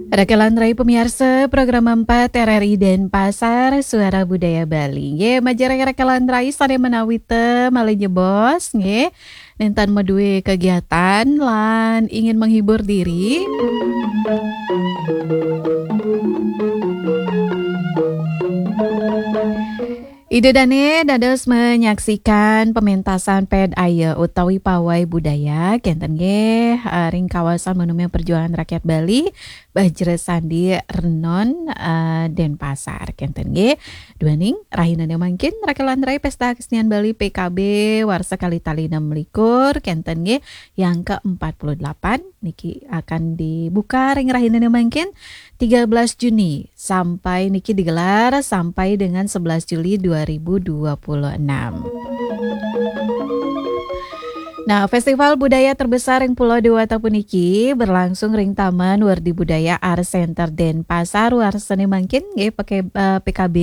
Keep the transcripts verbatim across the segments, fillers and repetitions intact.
Rakelan rai pamiarsa, program empat R R I Denpasar, Suara Budaya Bali. Ye, majeng rakelan rai sane manawi malih nyebos, nggih. Nenten madue kegiatan lan ingin menghibur diri. Ida dane dados menyaksikan pementasan ped aya utawi pawai budaya kenten nggih, eh, ring kawasan Monumen Perjuangan Rakyat Bali, Bajra Sandi Renon, eh, Denpasar kenten nggih. Duaning rahinane mangkin rakelan rai Pesta Kesenian Bali P K B warsa kalih tali enam likur kenten nggih, yang ke empat puluh delapan niki akan dibuka ring rahinane mangkin tiga belas Juni sampai niki digelar sampai dengan sebelas Juli dua ribu dua puluh enam. Nah, festival budaya terbesar ring Pulau Dewata puniki berlangsung ring Taman Werdi Budaya Art Center Denpasar warsane mangkin nggih, P K, eh, P K B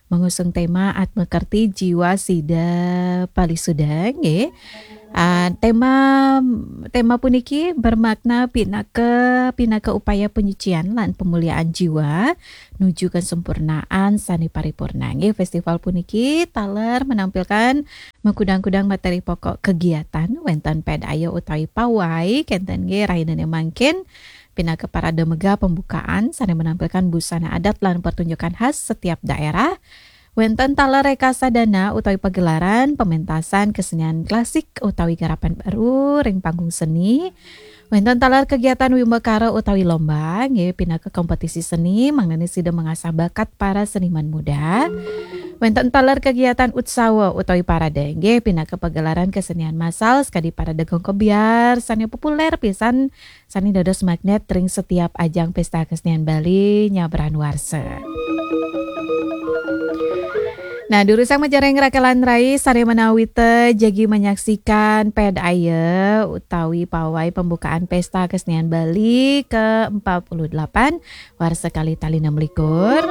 mengusung tema Atma Kerti Jiwa Sida Palisuda nggih. Ah, tema, tema puniki bermakna pinaka, pinaka upaya penyucian lan pemuliaan jiwa nuju kesempurnaan sane paripurna. Nggih, festival puniki taler menampilkan makudang-kudang materi pokok kegiatan, wenten ped aya utawi pawai kenten nggih rahinane mangkin, pinaka parade megah pembukaan sane menampilkan busana adat lan pertunjukan khas setiap daerah. Wenten taler rekasadana utawi pagelaran pementasan kesenian klasik utawi garapan baru ring panggung seni. Wenten taler kegiatan wimbakara utawi lomba, nggih, pinaka kompetisi seni, mangdane sida mengasah bakat para seniman muda. Wenten taler kegiatan utsawa utawi parade, nggih, pinaka pagelaran kesenian massal, sakadi parade gong kebyar, sane populer pisan, sane dados magnet ring setiap ajang Pesta Kesenian Bali nyabran warsa. Nah, durusang majeng ring rakelan rai sane manawita jagi menyaksikan ped aya utawi pawai pembukaan Pesta Kesenian Bali ke empat puluh delapan warsa kalih tali enam likur.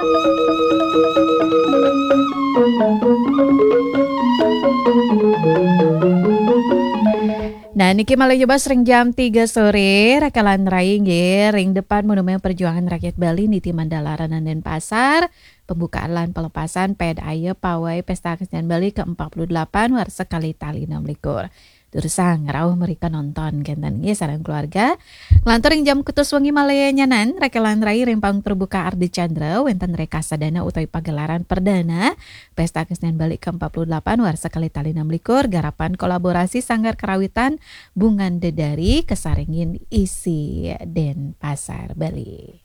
Nah, niki malih nyebos ring jam tiga sore, rakelan rai nggih, ring depan Monumen Perjuangan Rakyat Bali, Niti Mandala Renon Denpasar, pembukaan lan pelepasan ped aya pawai Pesta Kesenian Bali ke empat puluh delapan warsa kalih tali enam likur. Durusang rauh mrika nonton kenten nggih sareng keluarga. Nglantur ring jam kutus wengi malih nyanan, rakelan rai ring panggung terbuka Ardha Candra, wenten rekasadana utawi pagelaran perdana Pesta Kesenian Bali ke empat puluh delapan warsa kalih tali enam likur, garapan kolaborasi Sanggar Karawitan Bungan Dedari, kasarengin I S I Denpasar Bali.